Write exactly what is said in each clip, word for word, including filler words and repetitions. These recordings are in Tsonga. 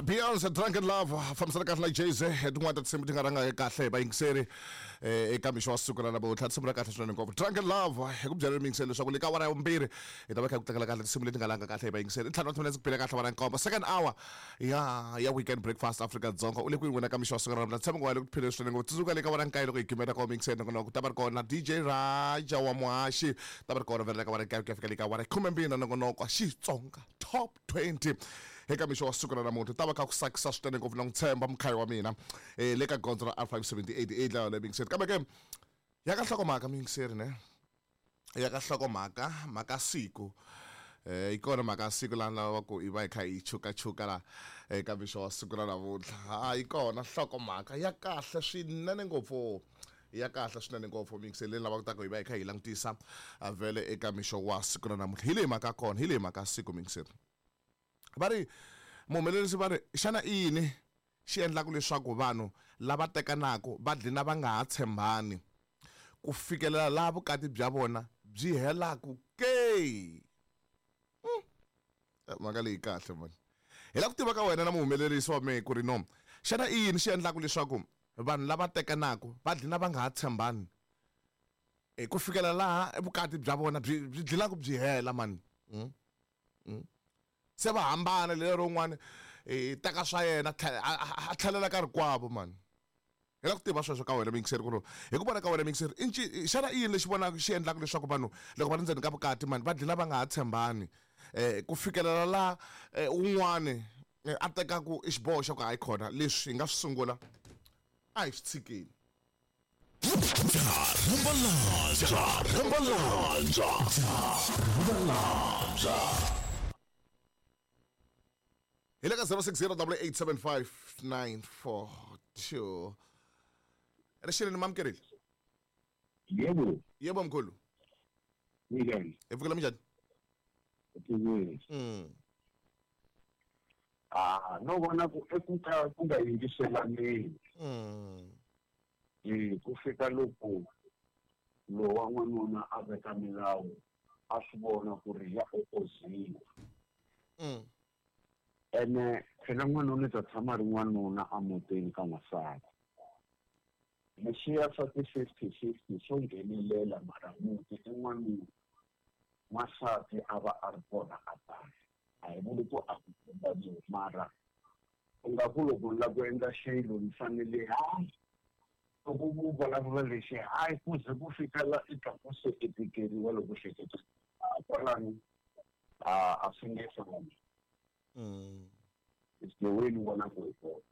Beyonce Drunken Love fambisana kahle na Jay-Z tin'wana ta tinsimu ti nga rhanga kahle hi vayingiseri eka mixo wa siku ra namuntlha tinsimu ra kahle swinene ngopfu Drunken Love hi ku byela miyingiseri leswaku le ka awara ya vumbirhi hi ta va kha ku tlangela kahle tinsimu leti nga langa kahle hi vayingiseri ntlhanu wa timinetse ku bile kahle awara nkombo second hour ya ya weekend breakfast Afrika Dzonga u le kwini wena ka mixo wa siku ra namuntlha tshama ngo le ku phileni swinene ngopfu tsundzuka le ka awara nkaye loko hi gimeta ka miyingiseri nakona ku ta va ri kona D J Raja wa Muhaxi ta va ri kona vhele ka awara nkaye ku ya fika le ka awara khumembirhi na nongonoko Xitsonga Top twenty eka mixo wa siku ra namuntlha ta va kha ku tsakisa swinene ngopfu na ku tshemba mukhayi wa mina eh le ka gondzo ra R five seventy-eight eight laha le miyingiseri kambe ke ya ka nhlokomhaka miyingiseri ne ya ka nhlokomhaka mhaka siku eh yi kona mhaka siku laha lava ku i va hi kha hi chukachuka la eka mixo wa siku ra namuntlha ha yi kona nhlokomhaka ya kahle swinene ngopfu ya kahle swinene ngopfu miyingiseri leyi lavaka ku hi va hi kha hi langutisa vhele eka mixo wa siku ra namuntlha hi leyi mhaka kona hi leyi mhaka siku miyingiseri va ri muhumelerisi va ri xana i yini xi endlaka leswaku vanhu lava tekanaka va dlina va nga ha tshembani ku fikelela laha vukati bya vona byi helaku ke mhaka leyi kahle mani hi lava ku tiva ka wena na muhumelerisi wa mehe ku ri no xana i yini xi endlaka leswaku vanhu lava tekanaka va dlina va nga ha tshembani ku fikela laha vukati bya vona byi byi dlinaka byi hela mani mm? mm. se va hambana lero un'wana eh teka swa yena a tlhelela ka rikwavo mani hi lava ku tiva sweswo ka wena miyingiseri ku ri hi ku vona ka wena miyingiseri i xana i yini lexi vonaka xi endlaka leswaku vanhu loko va ri ndzeni ka vukati mani va dlina va nga ha tshembani eh ku fikelela laha un'wani a tekaku i xiboho xa ku hayi khona leswi hi nga swi sungula a hi swi tshikeni hi le ka zero six zero double eight seven five nine four two rixileni mamukerile yebo yebo mkhulu minjhani hi pfukela minjhani mm ah no vona ku eku ka ku nga yingiselaneni mm eh ku fika loko lowa n'wanuna a veka milawu a swi vona ku ri ya opoziwa mm ene phela n'wanuna ta tshama ri n'wanuna emutini ka n'wansati leswiya swa ti-fifty fifty swo nghenelela mara muti i n'wanuna n'wansati a va a ri kona a tala a hi vuli ku a ku tshembaniwi mara u nga ku loko ni lava ku endla xilo ni fanele hayi loko ku vulavula lexi hayi ku ze ku fika la i twa ku se i tikeriwa loko hleketa kwalano a a swi nge fambi Mm. It's the way ni vona ku hi kona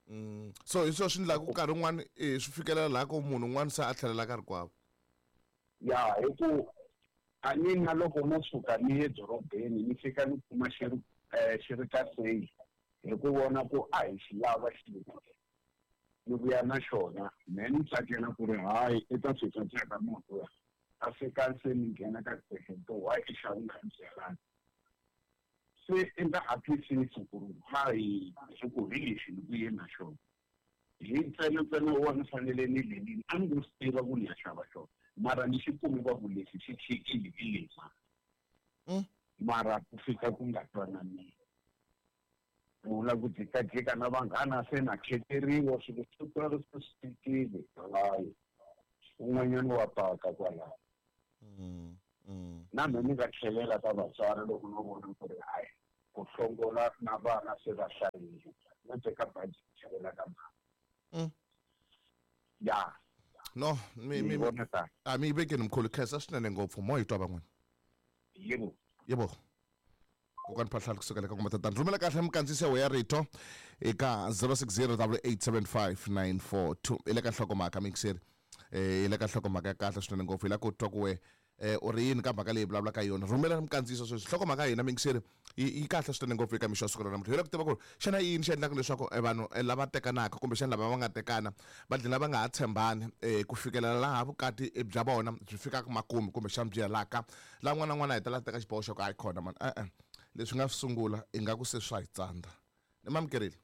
mm. So hi swona swi endlaka nkarhi wun'wani eh swi fikelela laha ku munhu un'wana se a tlhelela ka rikwavo ya hi ku a ni na loko no suka ni ye dorobeni ni fika ni kuma xi ri xi ri ka sale hi ku vona ku a hi xi lava xilo ni vuya na xona me ni tsakela ku ri hayi i ta fika tsaka munhu ya a fika se ni nghena ka to why i xava nga ni byelani se i nga ha twisisi ku ri hayi hi ku hi lexi ni ku ye na xona hi ntsena ntsena wa ni fanele ni lenini a ni ngo swi tiva ku ni ya xava xona mara ni xi kume va ku lexi xi chikile hi lexi mara ku fika ku nga twananiwi vula ku jikajika na vanghana se na kheteriwa swilo swo tala swi tikile hayi un'wanyana wa paka kwalaho na mina ni nga tlhelela ka vatswari loko no vona ku ri hayi ku hlongola na vana se va hlayile no teka baji tlhelela ka mhana ya no mi mi a mi vekeni mkhulu khensa swinene ngopfu mo hi twa van'wana yebo yebo kokwani Phahlala kusuka le ka N'wa-Matatani rhumela kahle mikandziyiso ya rito eka zero six zero double eight seven five nine four two i le ka nhlokomhaka mixeri eh i le ka nhlokomhaka ya kahle swinene ngopfu hi la ku twa ku we eh u ri yini ka mhaka leyi vulavulaka yona rhumela mikandziyiso sweswi nhlokomhaka ya hina mixeri yi kahle swinene ngopfu eka mixo wa siku ra namuntlha hi la ku tiva ku ri xana i yini xi endlaka leswaku vanhu lava tekanaka kumbexana lava va nga tekana va dlina va nga ha tshembani ku fikelela laha vukati bya vona byi fikaka makumu kumbexana byi helaka laha n'wana na n'wana a hetelela teka xiboho xa ku hayi khona mani e-e leswi nga swi sungula ingaku se swa hi tsandza ni mamukerile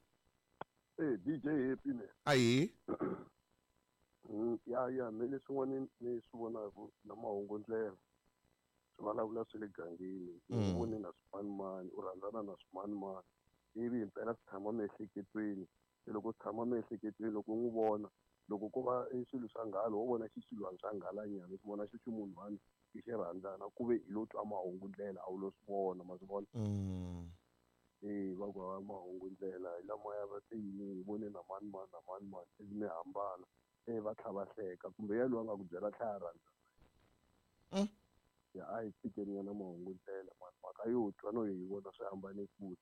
eh D J Happy ne ahi ya ya me leswin'wana ni swi vonaka na mahungu ndlela swi vulavula swi le gangeni ni vone na swimanimani u rhandzana na swimanimani Ivi himpela swi tshama miehleketweni. Se loko swi tshama miehleketweni loko u n'wi vona loko ko va i swilo swa nghala wo vona xixilwani swa nghalanyana u swi vona xi ximunhwana i xi rhandzana ku ve i lo twa mahungu ndlela a wu lo swi vona ma swi vona. Mm. E va ku hava mahungu ndlela hi lamaya va te yini hi vone na mani mani na mani mani ivi mi hambana e va tlha va hleka kumbe ya loyi a nga ku byela tlhela a rhandza. Mm. Ya a hi tshikeni nyana mahungu ndlela mani mhaka yo twa no yi vona swi hambane kule.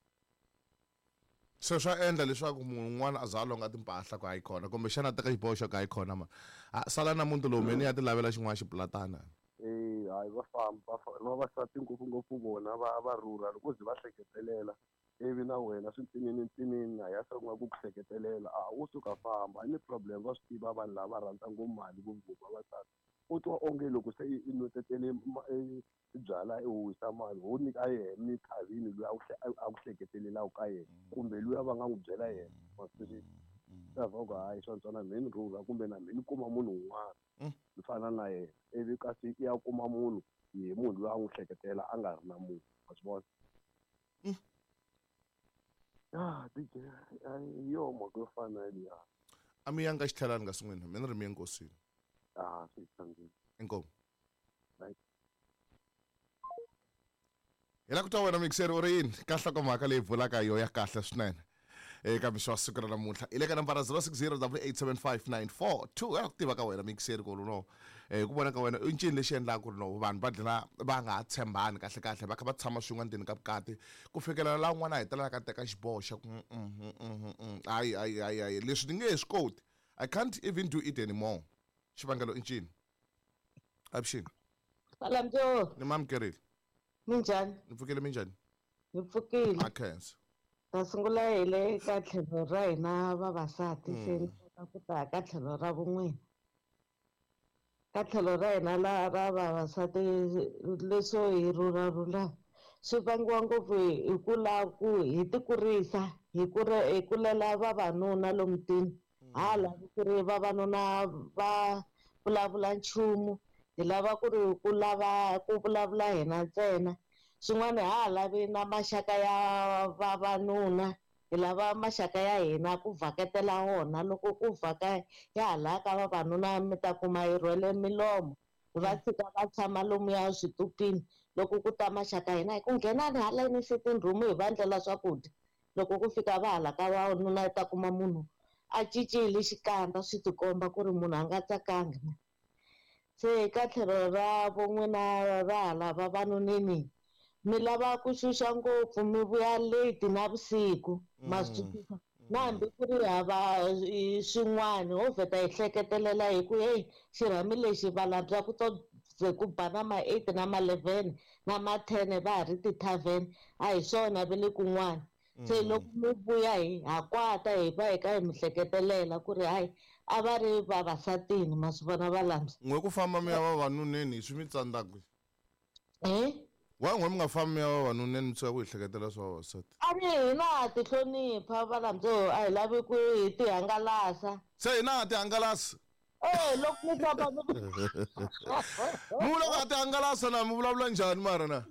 Se swa endla leswaku munhu un'wana a za a longa timpahla ku hayi khona kumbexana a teka xiboho xo ka hayi khona ma a sala na muti lowu meni ya ti lavela xin'wana xipulatana. E hayi va famba va vavasati ngopfungopfu vona va va rhurha loko ze va hleketelela ivi na wena swi ntsinini ntsinini a ya sungula ku ku hleketelela a wo suka famba a ni problem va swi tiva vanhu lava rhandza ngopfu mali ngopfungopfu vavasati. U twa onge loko se i nwetetele byala i huhisa mali ho nyika yena ni thavini loyi a ku a ku hleketelelaka ka yena kumbe luya va nga n'wi byela yena ma swi twisisa. Swi va ku hayi swa ntswana mhe ni rhurha kumbe na mhe ni kuma munhu un'wana ni fana na yena ivi kasi i ya kuma munhu hi munhu loyi a n'wi hleketela a nga ri na munhu ma swi vona. Ya D J hi yo mhaka yo fana na yeliya. A mi yanga xitlhelani kasi n'wina mi ni ri mi ye nkosini. Ah swi tsandzile. Inkomu. Right. Hi la ku twa wena mixer u ri yini ka nhlokomhaka leyi vulaka yo ya kahle swinene eka mixo wa siku ra namuntlha i le ka nambara zero six zero double eight seven five nine four two ya ku tiva ka wena mixer ku ri no hi ku vona ka wena i ncini lexi endlaka ku ri no vanhu va dlina va nga ha tshembani kahle kahle va kha va tshama swin'we endzeni ka vukati ku fikela laha un'wana a hetelelaka a teka xiboho xa ku hayi hayi hayi hayi leswi ni nge he swi koti I can't even do it anymore. Xivangelo i ncini? Avuxeni. Salamjo. Ni mamukerile. Minjhani? Ni pfukile minjhani? Ni pfukile. A khensa. Ta sungula hi le ka tlhelo ra hina vavasati se ni kota ku ta ka tlhelo ra vun'wina. Ka tlhelo ra hina la ra vavasati leswo hi rhurharhurha swi vangiwa ngopfu hi ku lava ku hi ti kurisa hi kure hi kulela vavanuna lomu mutini. Ha lavi ku ri vavanuna va vulavula nchumu hi lava ku ri ku lava ku vulavula hina ntsena. Swin'wana ha lavi na maxaka ya vavanuna hi lava maxaka ya hina ku vhaketela wona loko ku vhaka ya hala ka vavanuna mi ta kuma hi rhwele milomo va tshika va tshama lomuya switupini loko ku ta maxaka hina hi ku nghenani haleni sitting room hi va endlela swakudya loko ku fika va hala ka vavanuna hi ta kuma munhu a cincile xikandza swi tikomba ku ri munhu a nga tsakanga. Se ka tlhelo ra von'wina ra hala vavanuneni mi lava ku xuxa ngopfu mi vuya late navusiku ma swi twisisa na hambi ku ri hava swin'wana ho vheta hi hleketelela hi ku heyi xirhami lexi valabya ku to ze ku ba na ma eight na ma eleven na ma ten va ha ri ti-tavern a hi swona ve le kun'wana. Se loko mi vuya hi ha kwata hi va hi ka hi mi hleketelela ku ri hayi a va ri vavasatini ma swi vona valambya. N'we ku famba mi ya vavanuneni swi mi tsandza kwihi? Eh? Wa n'we mi nga fambi mi ya vavanuneni mi tshuka ku hi hleketela swa vavasati? A ri hina ha ti hlonipha valambya a hi lavi ku hi ti hangalasa. Se hina ha ti hangalasa? Eh loko mi famba mi Mi vula ku ha ti hangalasa na mi vulavula njhani mara na?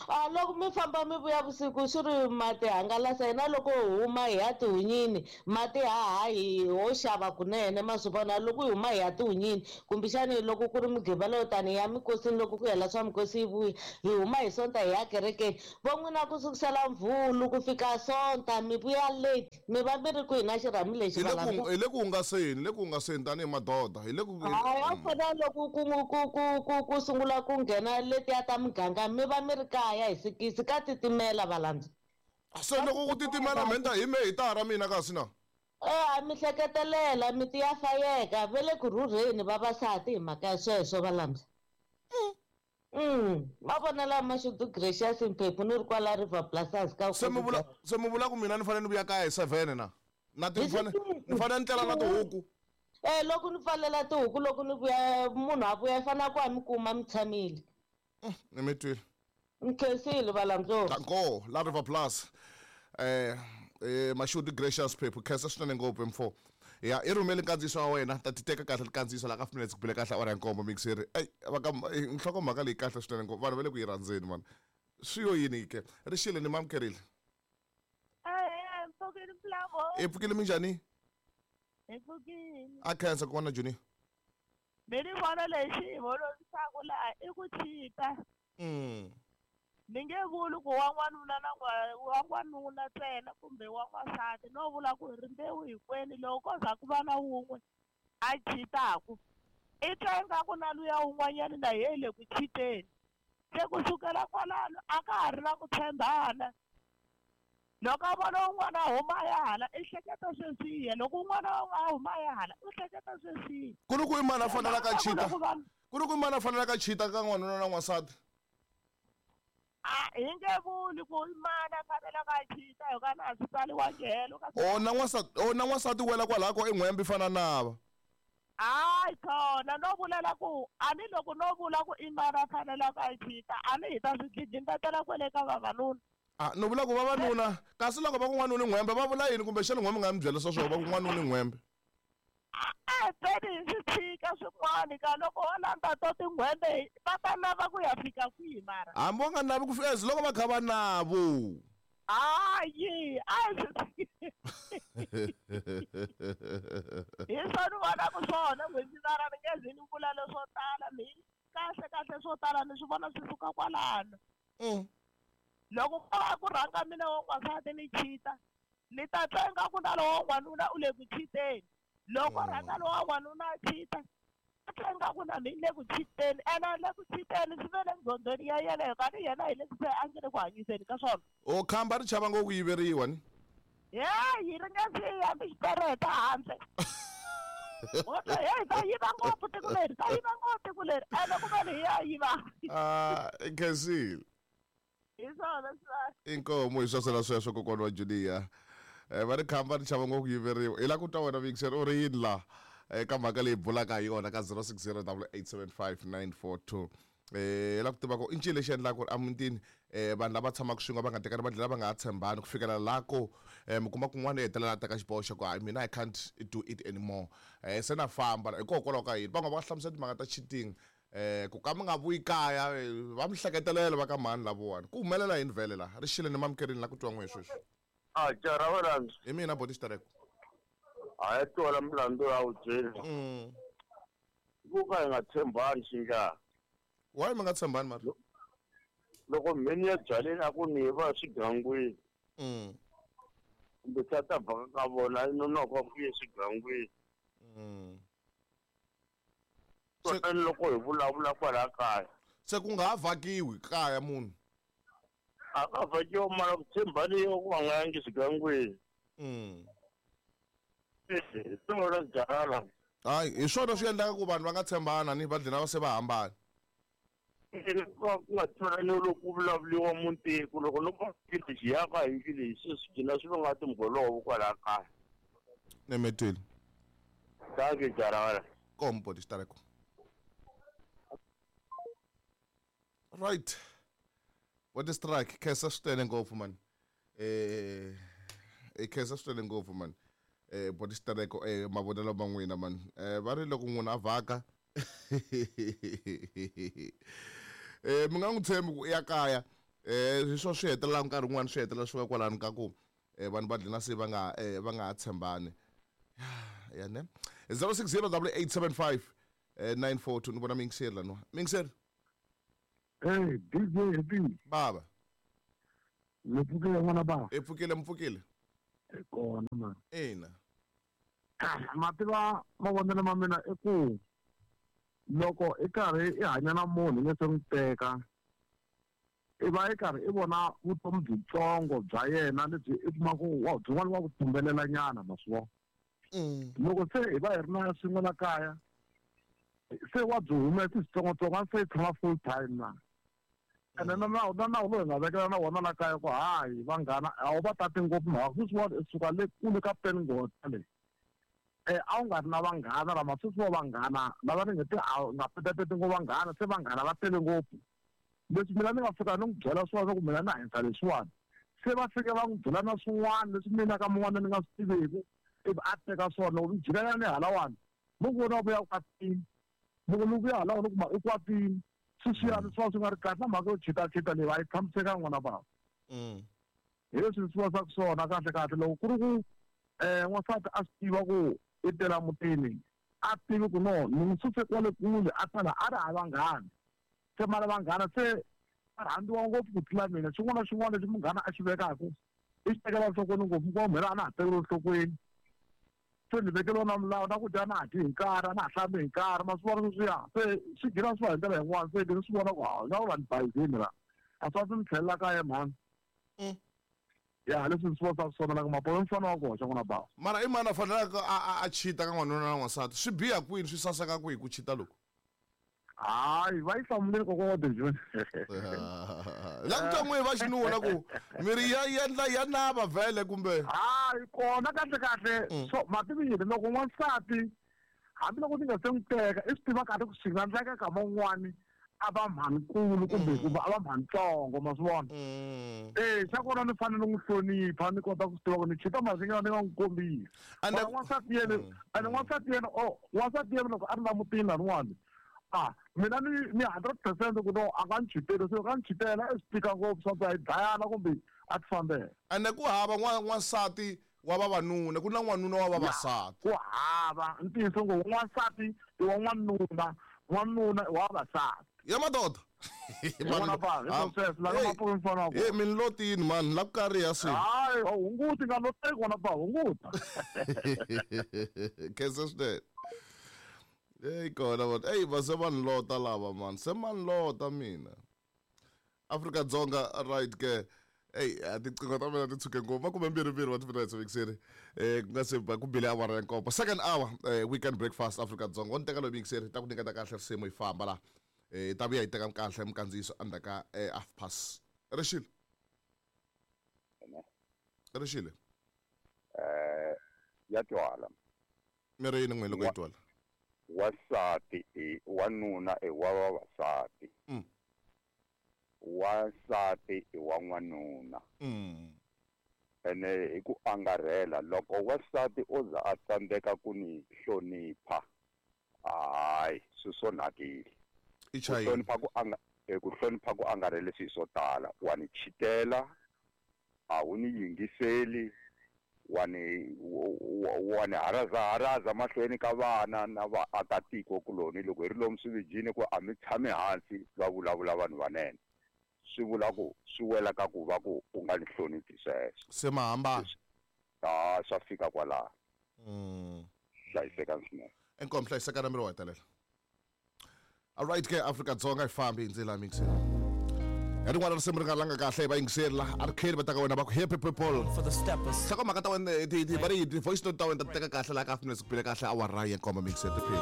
A loko mi famba mi vuya vusiku swi ri ma ti hangalasa hina loko hi huma hi ya tihunyini mati haha hi ho xava kunene ma swi vona loko hi huma hi ya tihunyini kumbexani loko ku ri mugqivela tani ya minkosini loko ku hela swa mikosi yi vuya hi huma hi sonta hi ya kerekeni vo n'wina ku sukusela mvhulu ku fika sonta mi vuya late mi va mi ri kwihi na xirhami lexi Hi le ku hi le ku hungaseni le ku hungaseni tanihi madoda hi le ku hayi a fana loko ku ku ku ku ku sungula ku nghena letiya ta muganga mi va mi ri kaya hi sikisi ka titimela valandza. Se loko ku titimela mhenta hi me hi tara mina kasi na? Eh a mi hleketelela miti ya fayeka ve le ku rhurheni vavasati hi mhaka ya sweswo valandza. Mm ma vona la Mashudu Gracious Mphephu ni ri kwala River Plaza ka Se mi vula se mi vula ku mina ni fanele ni vuya kaya hi seven na? Na ti fanele ni fanele ni tlela na tihuku. Eh loko ni pfalela tihuku loko ni vuya munhu a vuya i fanele ku a mi kuma mi tshamile. Ni mi twile. Nkhensile valandza. Danko la River Plus. Eh eh Mashudu Gracious Mphephu khensa swinene ngopfu mfo. Ya i rhumele nkandziyiso wa wena ta ti teka kahle nkandziyiso la ka five minutes ku bile kahle awara ya nkombo mixeri. Ey va ka nhlokomhaka leyi kahle swinene ngopfu vanhu va le ku yi rhandzeni man. Swi yo yini ke? Rixile ni mamukerile. Ahee Pfukile Mlambo. I pfukile minjhani? Hi pfukile. A khensa kokwana Junior. Mi ni vona lexi hi holovisaka laha i ku chita. Mm. Ni nge vuli ku wa n'wanuna na wa n'wanuna ntsena kumbe wa n'wansati, no vula ku rimbewu hinkwenu loko ko za ku va na wun'we a chitaku i twa ingaku na luya wun'wanyana na yena le ku chiteni. Se ku sukela kwalano a ka ha ri na ku tshembana. Loko a vona un'wana a huma a ya hala i hleketa sweswiya, loko un'wana a huma a ya hala u hleketa sweswiya. Ku ri ku i mani a fanelaka a chita? Ku ri ku i mani a fanelaka a chita ka n'wanuna na n'wansati? A hi nge vuli ku i mani a fanelaka a chita hi ka na swi tsaliwangi helo ka O na n'wansati, o na n'wansati wela kwalaho ko i n'hwembe i fana nava. Hayi khona no vulela ku a ni loko no vula ku i mani a fanelaka a chita a ni hi ta swi dlidlimbetela kwele ka vavanuna. Ah, no vula ku vavanuna kasi loko va ku n'wanuna i n'hwembe va vula yini kumbe xana n'hwembe nga mi byela swa swona va ku n'wanuna i n'hwembe? A tseni hi swi tshika swin'wana ka loko ho landza to tin'hwembe va ta lava ku ya fika kwihi mara? Hambi va nga lavi ku fika as loko va kha va navo. Hayi, a hi swi hi swona ni vonaka swona n'hweti ni nge zi ni vula leswo tala mi kahle kahle swo tala ni swi vona swi suka kwalano. Mm. Loko ko va ku rhanga mina wa n'wansati ni chita ni ta twa ingaku na lowa n'wanuna u le ku chiteni. Loko rhanga lowa n'wanuna a chita a twa ingaku na mina le ku chiteni, ene le ku chiteni swi ve le ndzhondzweni ya yena hikuva ni yena hi le se a nge le ku hanyiseni ka swona. O khamba ri chava ngopfu ku yiveriwa ni? Heyi ri nga si hambi xipereta handle. Heyi ta yiva ngopfu tiko leri, ta yiva ngopfu tiko leri ene ku ve ni hi ya yiva. Ah, i khensile. Hi swona swi Inkomo hi sweswo sweswo kokwana wa Julia. Eh va ri khamba ri chava ngopfu ku yiveriwa. Hi la ku twa wena Vixen u ri yini la eka mhaka leyi bulaka hi yona ka zero six zero double eight seven five nine four two. Eh hi la ku tiva ku i ncini lexi endlaka ku ri emutini eh vanhu lava tshamaka swin'we va nga tekani va dlhela va nga ha tshembani ku fikela laha ko eh mi kuma kun'wana i hetelela a teka xiboho xa ku hayi mina I can't do it anymore. Eh se na famba hikokwalaho ka yini? Van'wana va hlamusela timhaka ta cheating. Eh ku ka mi nga vuyi kaya va mi hleketelela va ka mhani lavowani. Ku humelela yini vhele laha? Ri xile ni mamukerini la ku twa n'we sweswi. A jara wa rhandzu. Hi mina boti Xitereko. A ya twala milandzu ya wu byeli. Mm. Ku ka hi nga tshembani xinjhani? Why mi nga tshembani mara? Loko mheni ya byaleni a ku ni va swigangwini. Mm. Kumbe tata vhaka ka vona i nonoka ku ye swigangwini. Mm. Kutani loko hi vulavula kwala kaya. Se ku nga ha vhakiwi kaya munhu. A ka vhakiwa mara ku tshembani yo ku va nga yangi swigangwini. Mm. Eh, swona byala. Hayi, hi swona swi endlaka ku vanhu va nga tshembana ni va dlina va se va hambana. Ku nga tshembani loko ku vulavuriwa mutiko loko no va lexi ya ka hi lexi swi gcina swi va nga timholovo kwala kaya. Nemetwile. Dankie jara. Kompo Xitereko. Right. What is strike? Khensa swinene ngopfu man. Eh eh khensa swinene ngopfu man. Eh boti Xitereko eh mavonelo ma n'wina man. Eh va ri loko n'wina a vhaka eh mi nga n'wi tshembi ku ya kaya. Eh hi swo swi hetelela nkarhi wun'wani swi hetelela swi va kwalano ka ku eh vanhu va dlina se va nga eh va nga ha tshembani. Ya ne. zero six zero double eight seven five nine four two ni vona mingiseri laniwa. Mingiseri. Hey, D J Happy. Baba. Mi pfukile n'wana baba. I pfukile mi pfukile. Kona man. Ina. Ma tiva mavonelo ma mina i ku loko i karhi i hanya na munhu ni se n'wi teka i va i karhi i vona vutomi byitsongo bya yena lebyi i kuma ku wa byin'wana wa ku tumbelela nyana ma swi vona. Loko se hi va hi ri na swin'we la kaya se wa byi humesa switsongotsongo a se yi tshama full time na. Ene na nawu na nawu lowu hi nga vekela na wona la kaya ku hayi vanghana a wu va tati ngopfu mhaka sweswiwani i suka le kule ka peningota leyi. Eh a wu nga ri na vanghana lama sweswiwa vanghana lava ni nge te a nga petapeti ngopfu vanghana se vanghana va tele ngopfu. Leswi mina ni nga fika ni n'wi byela swona ku mina na hanyisa leswiwani se va fike va n'wi byela na swin'wana leswi mina ka mun'wana ni nga swi tiviku ivi a teka swona loko ni jikela ni halawani mo ku vona vuya kwatini loko ni vuya halawani kuma i kwatini sweswiyani swi va swi nga ri kahle na mhaka yo chitachita leyi a yi tshamisekanga n'wana bava. Hi leswi swi vonisaka swona kahle kahle loko ku ri ku um n'wansati a swi tiva ku i tela mutini a tivi ku no ni n'wi suse kwale kule a tala a ri hava vanghana se mara vanghana se va rhandziwa ngopfu ku tlula mina xin'wana na xin'wana lexi munghana a xi vekaka i xi tekela enhlokweni ngopfu ku mhela a na ha tekeli enhlokweni se ni vekeliwa na milawu na ku dya na ha dyi hi nkarhi a na ha hlambi hi nkarhi ma swi vona sweswiya se swi gina swi va hi ndlela yin'wana se ni swi vona ku ha nga ku va ni bayizini la a swi va swi ni tlhelela kaya mhani ya leswi ni swi vonisaka swona la ku mapolo mfana wa koxa n'wana bava mara i mani a fanelaka a a chita ka n'wanuna na n'wansati swi biha kwini swi saseka kwihi ku chita loku hayi va yi hlamuleni kokwa wa Dejoni la ku twa n'wi va xinuna ku miri ya endla ya nava vhele kumbe hayi kona kahle kahle so mativi yini loko n'wansati hambiloko ni nga se n'wi teka i swi tiva kahle ku swi nga endleka ka man'wani a va mhanikulu kumbe kumbe a va mhanitsongo ma swi vona e xa kona ni fanele ni n'wi hlonipha ni kota ku swi tiva ku ni chita mali ni nga ni nga n'wi kombisi n'wansati yena ene n'wansati yena o n'wansati yena loko a ri la mutini laniwani ah mina ni ni hundred percent ku no a nga ni chiteli se ka ni chitela i swi tika ngopfu swa ku a yi dlayana kumbe a ti fambela ene ku hava n'wansati wa vavanuna ku na n'wanuna wa vavasati ku hava ntiyiso ngo n'wansati i wa n'wanuna n'wanuna i wa vavasati ya madoda e min lotini mani la ku kariha se hayi hunguti nga loteki wona ba hunguta khensa swinene eyi kona vona eyi va se va ni lota lava mani se ma ni lota mina Afrika-Dzonga right ke eyi a tiqingho ta mina ti tshuke ngopfu makume mbirhi mbirhi wa timinetse mixeri um ku nga se ba ku bile awara ya nkombo second hour um weekend breakfast Afrika-Dzonga wo ni teka loyi mixeri ta ku nyiketa kahle risimu yi famba la um ta vuya yi teka kahle minkandziyiso endzhaku ka half past rixile rixile um ya twala miri yini n'we loko yi twala wasati i wanuna i wa vavasati mm. wasati i wa n'wanuna mm. ene hi ku angarhela loko wasati o za a tsandzeka ku ni hlonipha hayi swi swonhakile i ku chayini hlonipha ku anga eh, ku hlonipha ku angarhele swilo swo tala wa ni chitela a wu ni yingiseli wa ni wa ni haraza haraza mahlweni ka vana na vaakatiko kuloni loko hi ri lomu swividyini ku a mi tshami hansi va vulavula vanhu vanene swi vula ku swi wela ka ku va ku u nga ni hloniphi sweswo se ma hambana a swa fika kwalaho mm. hlayisekani swinene inkomu hlayisekana miri wa hetelela alright ke Afrika-Dzonga yi fambi hi ndlela mixeri ya rin'wana risimu ri nga langa kahle hi va yingiseri la a ri kheli va ta ka wena va ku happy people For the steppers. nhlokomhaka ta wena ti- ti- va ri ti-voice note ta wena ta ti teka kahle laha ka afternoon ku bile kahle awara ya nkombo mixer tiphini